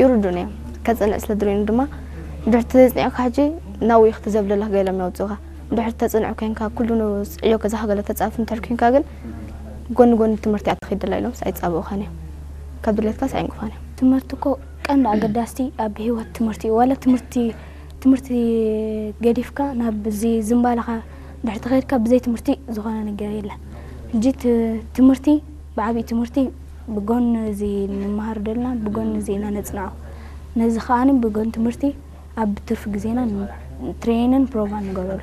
ይርዱን እዮም። ከጽንዕ ስለ ድልዩኒ ድማ ድሕሪ ተጽኒዕካ ሕጂ ናብኡ ኢኺ ዘብለላ ገለ እዮም የውጽኡኻ። ድሕሪ ተጽንዕ ኮይንካ ኩሉ ዕዮ ገዛኻ ገለ ተጻፊ እንድሕር ኮይንካ ግን ጎኒ ጎኒ ትምህርቲ እያ ትኸይድ ዘላ ኢሎምስ ኣይጻብኡኻን እዮም። ካብ ድሌትካስ ኣይንቅፋን እዮም። ትምህርቲ እኮ ቀንዲ ኣገዳስቲ ኣብ ህይወት ትምህርቲ እዩ። ዋላ ትምህርቲ ትምህርቲ ገዲፍካ ናብ እዚ ዝምባለኻ ድሕሪ ተኸይድካ ብዘይ ትምህርቲ ዝኾነ ነገር የለን። ሕጂ ት- ትምህርቲ ብዓብዪ ትምህርቲ ብጎን እዚ ንመሃር ደልና ብጎን እዚ ኢና ነጽንዖ። ነዚ ከዓኒ ብጎን ትምህርቲ ኣብ ትርፊ ግዜና ትሬንን ፕሮቫን ንገብረሉ።